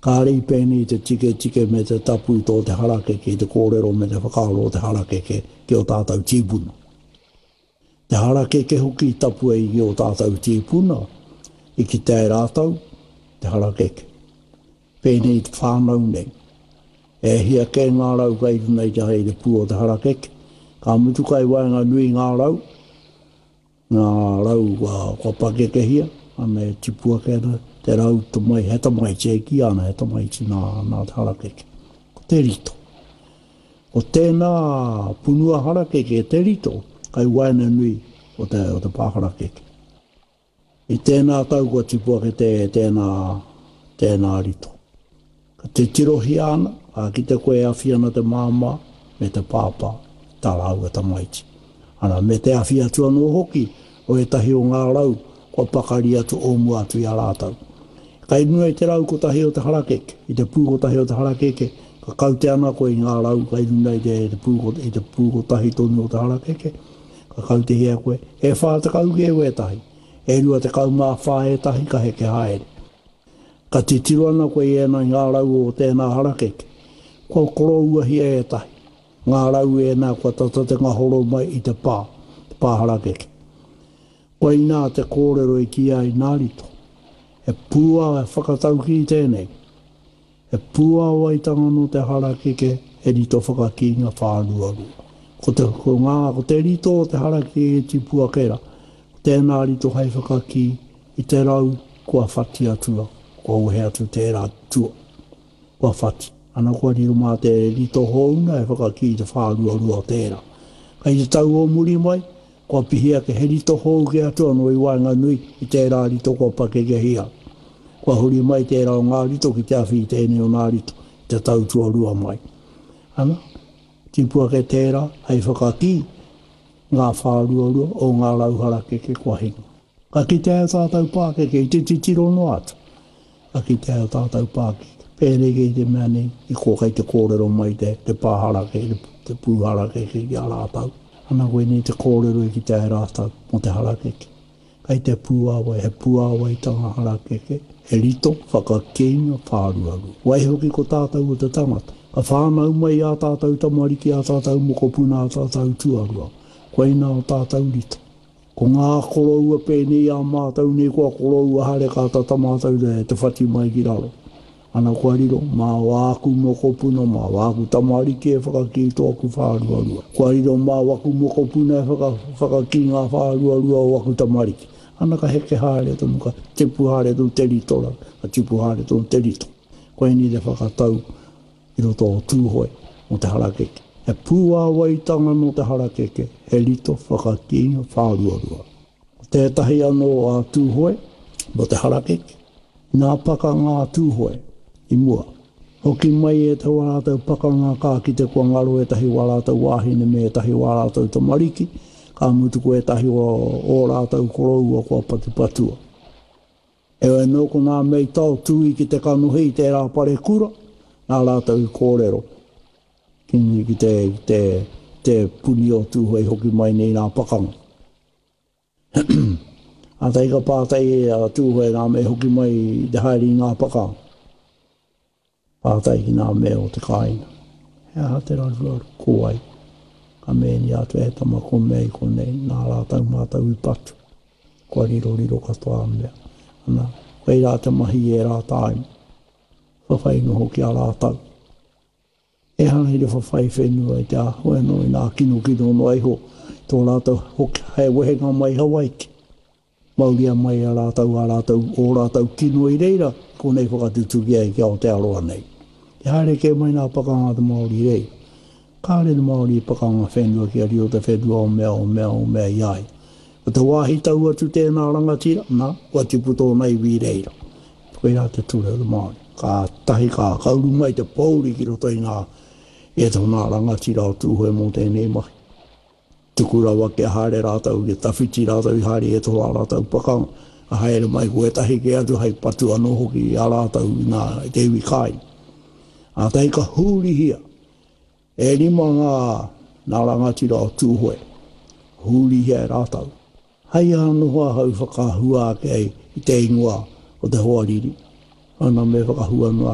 Kāre i pēnei te tiketike me te tapu i tō te harakeke, i te kōrero me te whakaaro o te harakeke ki ō tātou tīpuna. Te harakeke hoki i tapu ai ki ō tātou tīpuna, i kitea e rātou te harakeke. Pēnei i te whānau nei. E hia kē ngā rau kai runga i te, i te pū o te harakeke. Ka mutu kai waenganui ngā rau, Ngā rau kua pakekehia, ana e tipu ake ana te rau tamai, he tamaiti e kīia ana he tamaiti nā, nā te harakeke. Ko te rito. Ko tēnā punua harakeke te rito kai waenganui o te, o te pā harakeke. I tēnā tau kua tipu ake te, tēnā, tēnā rito. Ka titirohia ana, ka kite koe e awhi ana te māmā me te pāpā i tā rāua tamaiti. Ana, me te awhi atu anō hoki o ētahi o ngā rau kua pakari atu o mua atu i a rātou. Kai runga i te rau kotahi o te harakeke, i te pū kotahi o te harakeke, ka kaute ana koe i ngā rau kai runga i te, te pū, i te pū kotahi tonu o te harakeke, ka kautehia koe, e 40 kē wētahi, e 24 ētahi ka heke haere. Ka titiro ana koe i ēnā i ngā rau o tēnā harakeke. Kua korouahia ētahi. Ngā rau ēnā kua tata te ngahoro mai i te pā, te pā harakeke. Koinā te kōrero i kīia ai nā Rito. He pūa whakataukī tēnei. He pūāwaitanga nō te harakeke, he rito whakakīnga whāruarua. Ko te, ko ngā, ko te rito o te harakeke e tipu ake rā, ko tēnā rito hei whakakī i te rau kua whati atua, kua wehe atu tērā tua, kua whati. Ana kua riro mā te rito hōuna e whakakī i te whāruarua o tērā. Kei te tau o muri mai, Kua pihi ake he rito hou kē atu anō i waenganui i tērā rito kua pakekehia. Kua huri mai tērā o ngā rito ki te awhi i tēnei o ngā rito i te tau tuarua mai. Ana, tipu ake tērā hei whakakī ngā whāruarua o ngā rau harakeke kua hinga. Ka kitea e tātou pākeke i te titiro noa atu. Ka kitea e tātou pākeke. Pēnei kei te mea nei, i kō kei te kōrero mai te, te pā harakeke, te pū harakeke ki a rātou. Ana koinei te kōrero i kitea e rātou mō te harakeke. Kei te pūāwai, he pūāwaitanga harakeke, he rito whakakīnga whāruarua. Waihoki ko tātou o te tangata. Ka whānau mai ā tātou tamariki, ā tātou mokopuna, ā tātou tuarua. Koinā o tātou rito. Ko ngā koroua pēnei i a mātou nei kua koroua haere ka tata mātou te whati mai ki raro. Ana kua riro, mā wāku mokopuna, mā wāku tamariki e whakakī tōku whāruarua. Kua riro mā waku mokopuna e whaka, whakakī ngā whāruarua o waku tamariki. Ana ka heke haere tonu, ka tipu haere tonu te rito, ka tipu haere tonu te rito. Koinei te whakatau i roto o Tūhoe mō te harakeke. He pūāwaitanga nō te harakeke, he rito whakakīnga whāruarua. Ko tētahi anō a Tūhoe mō te harakeke, nā pakanga a Tūhoe i mua. Hoki mai ētahi o ā rātou pakanga ka kite kua ngaro ētahi o ā rātou wāhine me ētahi o ā rātou tamariki, ka mutu ko ētahi o ō rātou koroua kua patupatua. Heoi anō ko ngā mea i taotū ki te kanohi i tērā parekura, nā rātou i kōrero ki, ki te, ki te, te puni o Tūhoe i hoki mai nei nā pakanga. Kātahi ka pātai a Tūhoe nā mea i hoki mai i te haere i ngā pakanga. Pātai ki ngā mea o te kāinga. He aha te raruraru? Ko wai? Ka mēnia atu e tama ko mea i konei, nā rātou mātou i patu. Kua riroriro katoa a mea. Ana, koirā te mahi i ērā tāima. Whawhai noho ki a rātou. Ehara i te whawhai whenua i te āhua anō i ngā kinokino noa iho tō rātou hoki hei wehenga mai i Hawaiki. Mauria mai e rātou ā rātou, ō rātou kino i reira, konei whakatutuki ai ki Aotearoa nei. I haere kē mai nā pakanga a te Māori i reira. Kāre te Māori i pakanga whenua kia riro te whenua o mea, o mea, o mea i a ia. Ko te wāhi tau atu tēnā rangatira, nā, kua tipu tōna iwi i reira. Koirā te ture o te Māori. Kātahi ka, ka uru mai te pōuri ki roto i ngā, i ētahi o ngā rangatira o Tūhoe mō tēnei mahi. Tuku rawa kia haere rātou, kia tawhiti rātou i haere i ētahi o ā rātou pakanga, ka haere mai ko ētahi kē atu hei patu anō hoki i a rātou i ngā, i te iwi kāinga. Kātahi ka hurihia, e rima ngā, ngā rangatira o Tūhoe, hurihia e rātou. Hei aha noho ahau whakahua ake ai i te ingoa o te hoariri, ana me whakahua noa.